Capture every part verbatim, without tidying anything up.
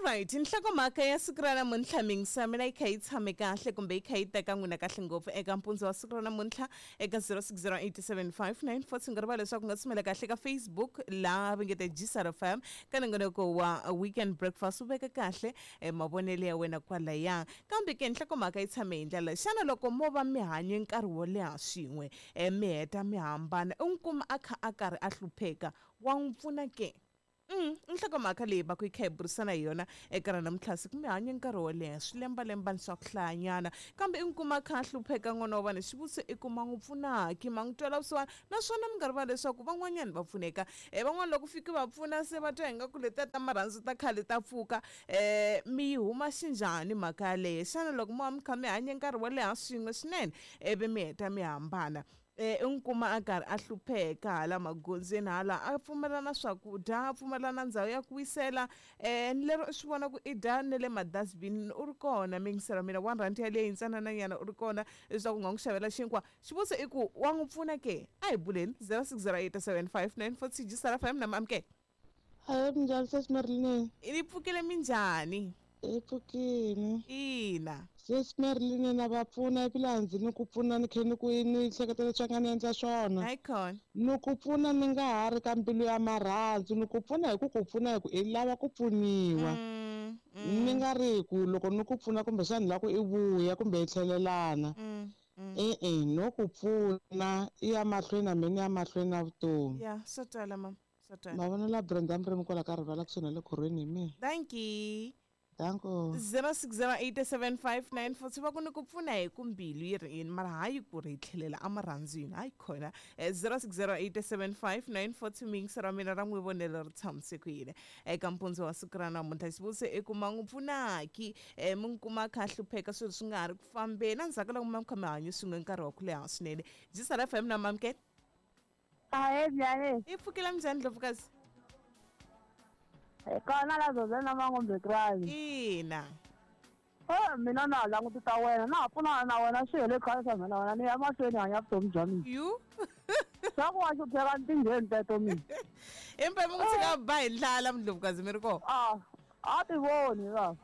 Alright, nhlokomhaka ya siku ra namuntlha mingisa mina yi kha yi tshame kahle kumbe yi kha yi teka n'wina kahle ngopfu eka mpundzu wa siku ra namuntlha eka zero six zero eight seven five nine four nga rivala leswaku nga tsumela kahle ka Facebook laha va nge te G S R F M ka nongonoko wa Weekend Breakfast, u veka kahle eh, mavonelo ya wena kwalaya. Kambe ke nhlokomhaka yi tshame hi ndlela, xana loko mo va mi hanye nkarhi wo leha swin'we eh, mi heta mi hambana, u n'wi kuma a kha a karhi a hlupheka, wa n'wi pfuna ke? Mm, nhlokomhaka leyi va ku yi kha hi burisana hi yona eka ra namuntlha siku. Mi hanye nkarhi wo leha, swilembalembani swa ku hlayanyana, kambe i n'wi kuma kha a hlupheka n'wana wa vanhu. Xivutiso i ku ma n'wi pfunaki, ma n'wi twela vusiwana? Naswona mi nga rivali leswaku van'wanyani va pfuneka, um van'wana loko fiki va pfuna se va twa ingaku letiya ta marhandzu ta khale ta pfuka. um mi yi huma xinjhani mhaka yaleyo? Xana loko mo va mi kha mi hanye nkarhi wo leha swin'we swinene ivi mi heta mi hambana, eh u n'wi kuma a karhi a hlupheka hala magondzweni hala, a pfumela na swakudya, a pfumela na ndhawu ya ku wisela, eh ni lero u swi vona ku i dya ne le madustbin, u ri kona mingisela mina one rand yaleyo yintsanananyana u ri kona leswaku u nga n'wi xavela xinkwa. Xivutiso i ku wa n'wi pfuna ke? A hi buleni. zero six zero eight seven five nine four six G S R F M na maamukela. Hayi, minjhani sesi Marilyn? Ni pfukile, minjhani? I pfukile. Ina. Sesi Marilyn, na va pfuna ivila ndzi ni ku pfuna ni khe ni ku ni hleketa leswi nga ni endla swona. Hayi khona. Ni ku pfuna ni nga ha ri ka mbilu ya marhandzu, ni ku pfuna hi ku ku pfuna hi ku i lava ku pfuniwa. mm, mm. Ni nga ri ku loko ni ku pfuna kumbexana ni lava ku i vuya kumbe hi tlhelelana. mm, mm. E-e, no ku pfuna i ya mahlweni na mina ya mahlweni na vutomi. Ya, swo twala mama, swo twala. Mavonelo ya Brenda Murimi kwala ka rivala kusuhi na le khorweni hi mina. Thank you. Danko. zero six zero eight seven five nine four va ku ni ku pfuna hi ku mbilu yi ri yini, mara hayi ku ri hi tlhelela emarhandzwini. Hayi khona. zero six zero eight seven five nine four two mingisa ra mina ra n'wi vonelo ri tshamise ku yini eka mpundzu wa siku ra namuntlha? Xivutiso i ku ma n'wi pfunaki, um mi n'wi kuma a kha a hlupheka, swilo swi nga ha ri ku fambeni endzhaku ka loko mi kha mi hanye swin'we nkarhi wa ku leha swinene. G S R F M na mamukela. Ahe, njhani? I pfukile, minjhani ndlovukazi? Hi kona la zoze na mangombekrani. Ina. Eh, mina na ha langutisa wena, na ha pfunana na wena, swi hele khale swa mina na wena, ni ya mahlweni hanya vutomi bya mina. Yu. Swa ku wa hlupheka ni tingheni teto mina. Empa mi n'wi tshika ba hi ndlala mndlovukazi mi ri kona? A a ti voni va.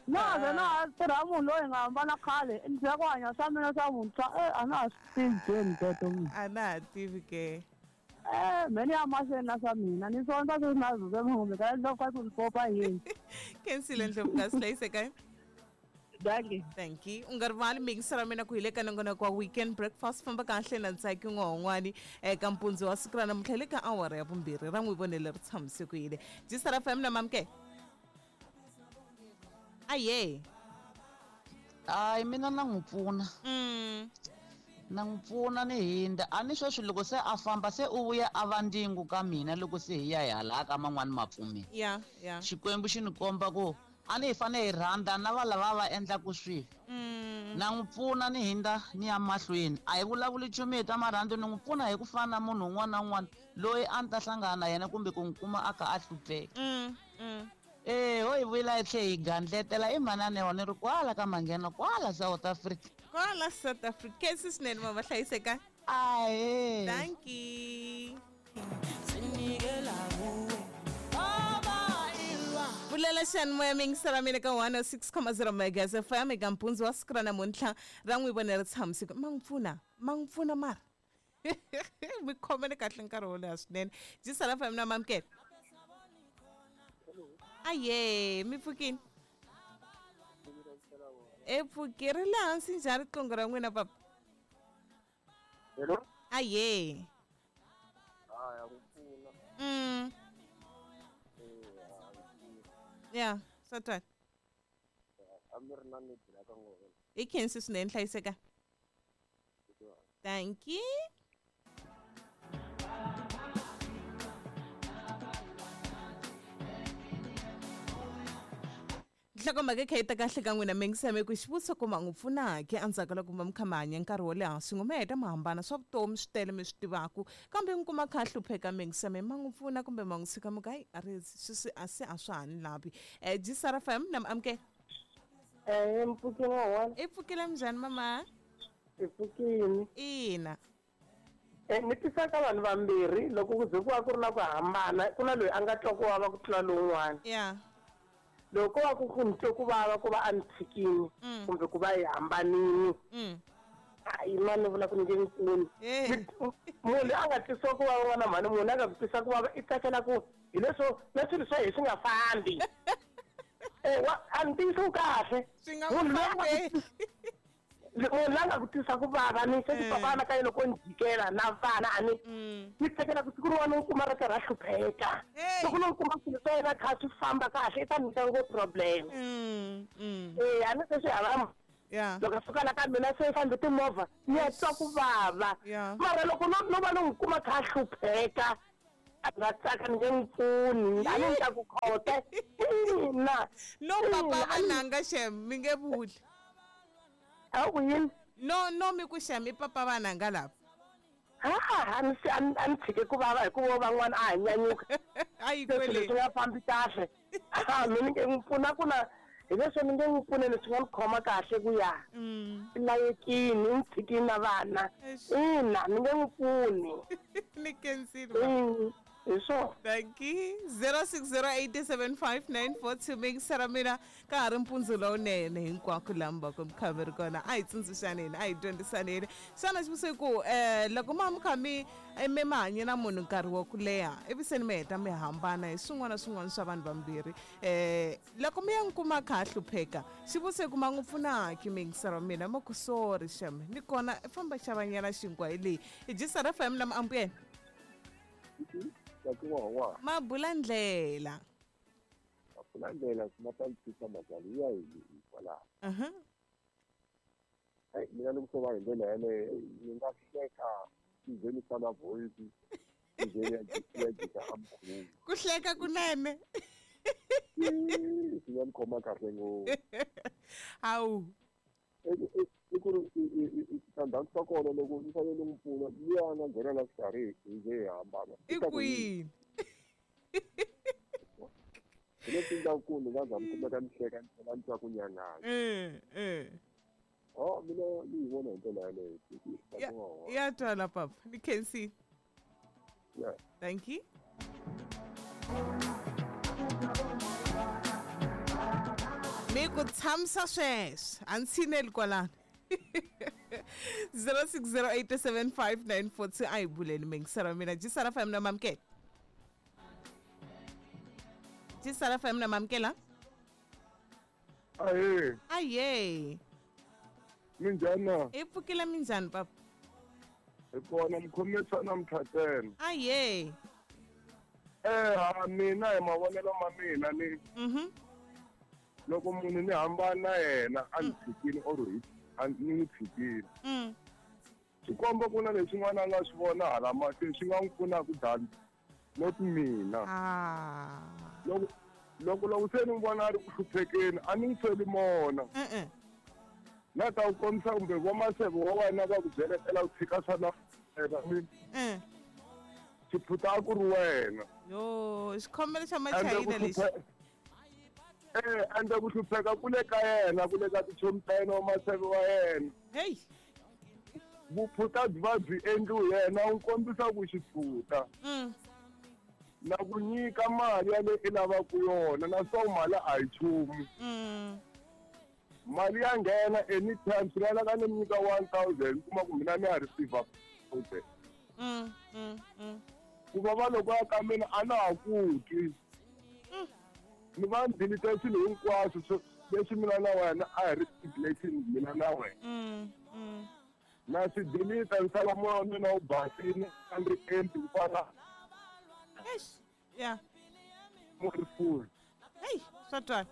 Na ze na ha tirha munhu loyi hi nga hambana khale, ni tlhela ku hanya swa mina swa vuntshwa, eh a na ha swi tivi gheni teto mina. A na ha tivi ke. Eh, me ni ya mahlweni na swa mina, ni sonta sweswi na zoze mangombekrani ndlovukazi ni popa yini. Khensile ndlovukazi, hlayiseka. Dankie. Thank you. U nga rivali mingisa ra mina ku hi le ka nongonoko wa Weekend Breakfast. Famba kahle na ntsaki n'wan'wani eka mpundzu wa siku ra namuntlha le ka awara ya vumbirhi ra n'wi vonele ri tshamise ku yini. G S R F M na mamke. Aye. Hayi, mina na n'wi pfuna. Mm. Na n'wi pfuna ni hindza a ni sweswi loko se a famba se u vuya a va ndyangu ka mina loko se hi ya hi hala ka man'wani mapfumeli. Ya, ya. Xikwembu xi ni komba ku a ni hi fanele hi rhandza na va lava va endlaku swilo. Mm. Na n'wi pfuna ni hindza ni ya mahlweni, a hi vulavuli nchumu hi ta marhandzu, ni n'wi pfuna hi ku fana na munhu un'wana na un'wana loyi a ni ta hlangana na yena kumbe ku n'wi kuma a kha a hlupheka. Mm. Mm. Eh, ho hi vuyela hi tlhe hi gandletela i manane wa ni ri kwala ka manghena kwala South Africa. Kwala South Africa. Khensi swinene mama, hlayiseka. Ahe. Thank you. Pfulela xiyanimoya mingisela mina ka one oh six point zero Megas F M eka mpundzu wa siku ra namuntlha ra n'wi vone ri tshamiseke. Ma n'wi pfuna, ma n'wi pfuna, mara mi khomele kahle nkarhi wo leha swinene. G S R F M na mamukela. Aye, mi pfukini? E pfuki ri le hansi njhani riqingho ra n'wina papa? Hello. Aye. Hayi, ku pfuna. mm Eh, hayi. Ya, swa twala. A mi ri na need la ka n'wina. Hi khensi swinene, hlayiseka. Thank you. Nhlokomhaka yi kha yi ta kahle ka n'wina mingisame ku xivutiso ku ma n'wi pfunaki endzhaku ka loko mi kha mi hanya nkarhi wo leha swin'we, mi heta mi hambana, swa vutomi swi tele mi swi tivaku, kambe mi kuma kha a hlupheka mingisame, ma n'wi pfuna kumbe ma n'wi tshika mi ku hayi a ri swi a se a swa ha ni lavi? um G S R F M na mi amukela. Eh, mpfukini wona. I pfukile, minjhani mama? I pfukini. Ina. Eh, ni tisa ka vanhu vambirhi loko ku ze ku va ku ri na ku hambana, ku na loyi a nga twa ku vava ku tlula lowun'wana. Ya. Loko va ku ku ni twe ku vava ku va a ni tshikini Mm. kumbe ku va hi hambanini Mm. hayi mani vula ku ni nge n'wi pfuni Eh. munhu loyi a nga twisiwa ku vava n'wana mhani munhu a nga ku twisa ku vava i tsakela ku hi leswo na swilo swa hina swi nga fambi Eh, wa- a ni tiyisi kahle Swi nga munhu n'wi loyi a nga ku fambeli. munhu la nga ku twisa ku vava ni se Eh. papa na ka yena loko ni jikela na vana a ni Mm. ni tsakela ku siku rin'wana ni kuma ri karhi a hlupheka Hey. loko no kuma swilo swa yena kha swi famba kahle i ta ni nyika ngopfu problem Mm. Mm. ee a ni se swi hava Yeah. loko a suka la ka mina se fambe timovha ni ya twa ku vava Yeah. mara loko no no va ni n'wi kuma kha a hlupheka a nga tsaka ni nge n'wi pfuni a ni ni ta ku khota ina No papa Ina, a ni- vananga xem mi nge vuli. a ku yini No no mi ku xem i papa vananga lava. ha a ni se a ni a ni tshike ku vava hikuva van'wana a ha nyanyuka A yi se swilo kwele. swi nga fambi kahle a mi ni nge n'wi pfuna ku na hi leswo ni nge n'wi pfuneni swi nga ni khoma kahle ku ya Mm. i layekini i ni tshikini na vana Eish. ina ni nge n'wi pfuni Ni khensile. baba. Mm, hi swona Thank you. zero six zero eight seven five nine four two mixera mina ka ha ri mpundzu lowunene hinkwako laha mi va ku mi kha mi ri kona a hi tsundzuxaneni a hi dyondzisaneni xana xivutiso i ku um loko ma mi kha mi eh, mi mi hanye na munhu nkarhi wa ku leha ivi se ni mi heta mi hambana hi swin'wana na swin'wana swa vanhu vambirhi um loko mi ya n'wi kuma kha a hlupheka xivutiso i ku ma n'wi pfunaki mixera mina ma ku sorry xem ni kona famba xavanyana xinkwa hi leyi hi jisara fm na miambuyena Wa mabula ndlela pfula ndlela ma ta ni twisa mhaka liya hi kwalaho Mhm. eyi mina ni ku va hi ndlela yaleyo ni nga hleka ni ze ni fana voice ni ze ni ya ji- ya jika a mukhuva ku hleka kunene swi nga ni khoma kahle ngopfu hawu I ku- i- i ku ri i- i- i- i- switandzhaku swa kona loko ni fanele ni n'wi pfuna luya a nga nghena la xikarhi hi ze hi hambana i i ta ku yini kwini hi leswi endlaku ku ni nga za ni kumeka ni hleka ni tlhela ni twa ku nyanganya Eh, eh. o mina ni yi vona hi ndlela yaleyo Ya- ya twala papa ni khensile Yeah. thank you mi ku tshamisa sweswo a ni tshineli kwalano zero six zero eight seven five nine four two a hi buleni mingisera mina jisara fm na mamukela jisara fm na mamukela Ahee, aye minjhani na? hi pfukile minjhani papa Hi kona mukhomisana namuntlha ntsena. aye Eh, ha mina hi mavonelo ma mina ni mhm loko munhu ni hambana na yena a ni tshikile or hi a ni n'wi tshikile. mm Swi komba ku na leswin'wana a nga swi vona hala mahlweni swi nga n'wi pfunaka than not mina. ah Loko loko loko se ni n'wi vona a ri ku hluphekeni a ni n'wi feli mona. e-e Na ta ku kombisa kumbe vo maseve wa wena va ku byeletela ku tshika swa na wena mi e xiphuta a ku ri wena. yo xikhomelo xa Ende ku machayina lexi hluphe- Eh, ende ku hlupheka ku le ka yena ku le ka tichomi ta yena wa maseve wa yena heyi vuphuta byi va byi endliwe yena wu kombisa ku xiphuta mm na ku nyika mali yaleyo i lavaka yona naswona mali a hi nchumu mm mali ya nghena anytime swi nga lava ni mi nyika one thousand kuma ku mina ni ya receiver thousand mm mm mm ku va va loko ya ka mina a na ha ku twi ni va ni delete swilo hinkwaswo swo- leswi mina na wena a hi ri stipulation mina na wena mm mm na swi delete ni sala moya wa mina wu basile a ni ri empty ku fana eish ya mo ri full heyi swa twala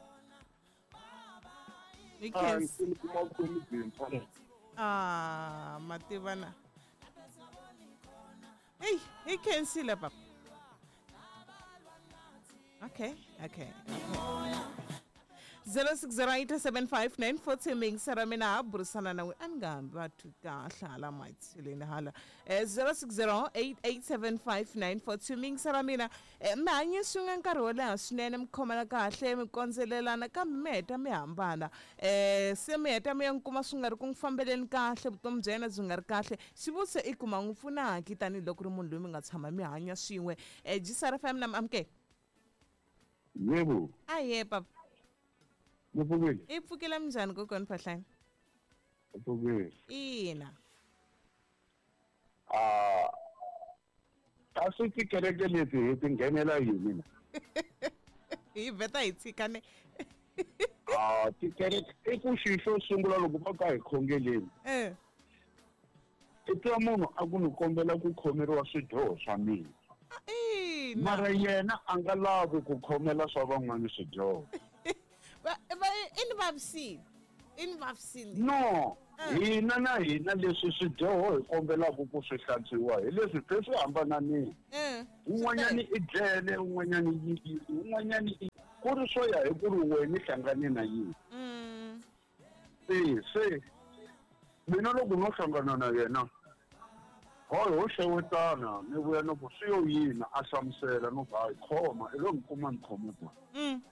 hi a ni khensa se ni kuma vutomi byintshwa ah mativana heyi hi khensile papa okay okay okay zero six zero eight seven five nine four two mingisera mina ha burisana na n'wi a ni nga hambi va twi kahle hala matshileni hala um zero six zero eight eight seven five nine four two mingisera mina um mi hanye swin'we nkarhi wo leha swinene mi khomela kahle mi kondzelelana kambe mi heta mi hambana um se mi heta mi ya n'wi kuma swi nga ri ku n'wi fambeleni kahle vutomi bya yena byi nga ri kahle xivutiso i kuma n'wi pfunaki tanihiloko ri munhu loyi mi nga tshama mi hanya swin'we um jisara fm na mi amukela yebo aye papa Ni pfukile. I pfukile minjhani kokwani Phahlane? Ni pfukile. Ina. Ah, kasi tikereke leti hi ti nghenela yini na? Hi vheta hi tshika ne. Ah, tikereke i ku xi xo sungula loko va ka hi khongeleni. Eh. I twa munhu a ku ni kombela ku khomeriwa swidyoho swa mina. Ina. Mara yena a nga lavi ku khomela swa van'wana swidyoho. Va va i ni vavisile. I ni vavisile. No, hina na hina leswi swidyoho hi kombelaka ku swi hlantswiwa hi leswi se swi hambananile. Eh. Un'wanyani i dlele, un'wanyani yi yini, un'wanyani i ku ri swo ya hi ku ri wena i hlangane na yini. Mm. E se mina loko no hlangana na yena hayi ho xewetana ni vuya ni ku swi yo yini a hlamusela no ku hayi khoma i lo ni kuma ni khome kona. Mm.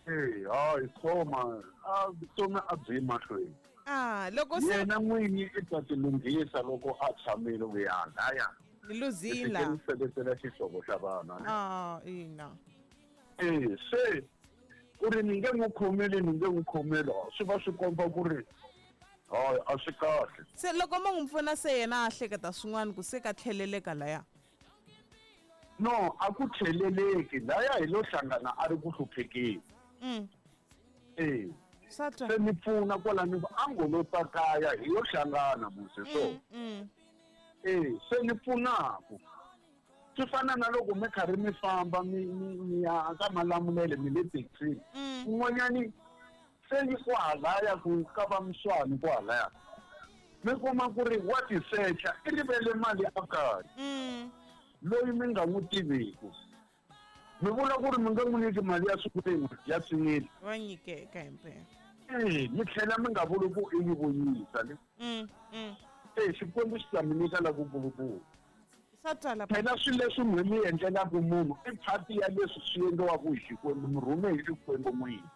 E hayi khoma a vutomi a byi yi mahlweni. Ah, loko se Yena n'winyi i ta ti lunghisa loko a tshamile ku ya laya. ni luzile. Ni seketela xihlovo xa vana. Ah, ina. E se ku ri ni nge n'wi khomeli ni nge n'wi khomeli swi va swi komba ku ri hayi a swi kahle. Se loko mo n'wi pfuna se yena a hleketa swin'wana ku se ka tlheleleka laya. No, a ku tlheleleki laya hi lo hlangana a ri ku hluphekeni. Mm. E. Swa twa. Se ni pfuna kwala ni ku a ngo lo ta kaya hi yo hlangana musi so. Mm. E se ni pfunaku. Swi fana na loko mi karhi mi famba mi mi mi ya ka Malamulele mi le taxini. Mm. Un'wanyani se yi kwahalaya ku ka va Mswani kwahalaya. Mi kuma ku ri wa ti secha i rivele mali a kaya. Mm. Loyi mi nga n'wi tiviku. Mi vula ku ri mi nga n'wi nyiki mali ya siku rin'we ya swin'wini. Va nyikeka himpela. E mi tlhela mi nga vuli ku i yi vuyisa ne. Mm. Mm. E Xikwembu xi ta mi nyika la ku kulukumba. Swa twala. Phela swilo leswi n'we mi endlelaka munhu i phati ya leswi swi endliwaka hi Xikwembu mi rhume hi Xikwembu n'wini.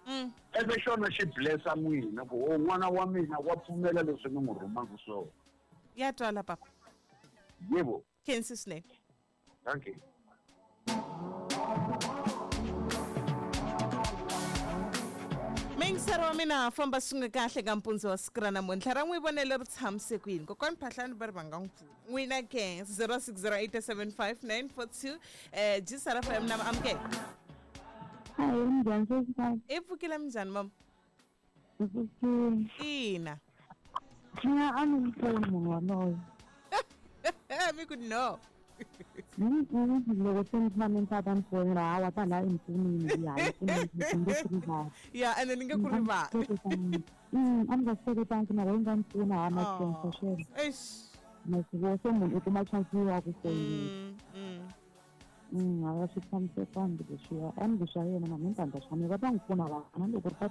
Mm. Eve xona xi blessa n'wina ku o n'wana wa mina wa pfumela leswi ni n'wi rhumaka swona. Ya twala papa. Yebo. Khensi swinene. Thank you. Mingisero wa mina famba swin'we kahle ka mpundzu wa siku ra namuntlha ra n'wi vonele ri tshamise ku yini kokwani Phahlane va ri va nga n'wi pfuna n'wina ke zero six zero eight seven five nine four two eh G S R F M na amukela. Hayi, minjhani sesi? I pfukile minjhani mama? Hi pfukile. Ina. Mina a ni n'wi pfuni munhu waloye. Mi ku no. Loko se ni tshame ni ta ta ni fonela hawa ta laha i ni pfunile ya yi pfunile ni nge ku rivali. Ya ene ni nge ku rivali. A ni nga swi hleketangi na yi nga ni pfuna ha na chance sweswo. Eish. Ma swi vona se munhu u kuma chance ya ku foyinela. Mm. Mm. Mm, a swi tshamisekangi leswiya a ni ku swa yena na mina ni ta endla swa mina va ta n'wi pfuna vana loko ri ta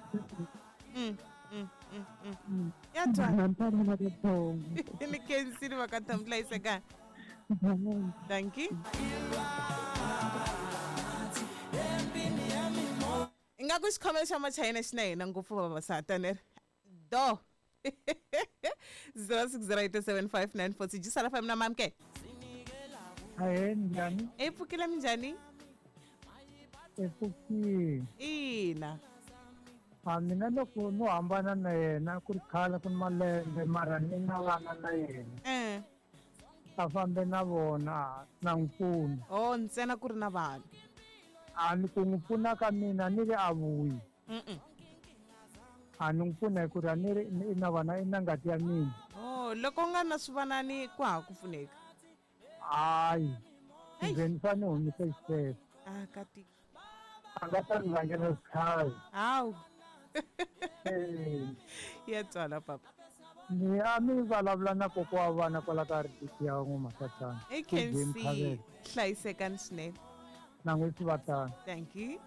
Mm. Mm. Mm. Mm. Mm. Ya twala. Ni ta vona ka Ni khensile va ka Thambu hlayisekani. Thank you. Ingaku xikhomelo xa machayina xi na hina ngopfu vavasati ne do zero six zero eight seven five nine four six G S R F M na mamke. Ahee, njhani? I pfukile minjhani? I pfukile. Ina. A mina loko no hambana na yena ku ri khale ku ni malembe mara ni na vana na yena. Eh. A fambe na vona na n'wi pfuna. Oh, ntsena ku ri na vanhu. A ni ku n'wi pfuna ka mina ni ri a vuyi. Mm. A ni n'wi pfuna hi ku ri a ni ri i na vana i na ngati ya mina. Oh, loko u nga na swivanani ku hava ku pfuneka. Hayi. Ndzi ni fanele humesa xitepe. Ah, ka tika. A nga ta ni vangela switlhavi. Hawu. Eh. Ya twala papa. Ni a mi vulavula na kokwa wa vana kwala ka R D C ya N'wa-Masatsana. I K C hlayisekani swinene. Na n'wi swi vatana. Thank you.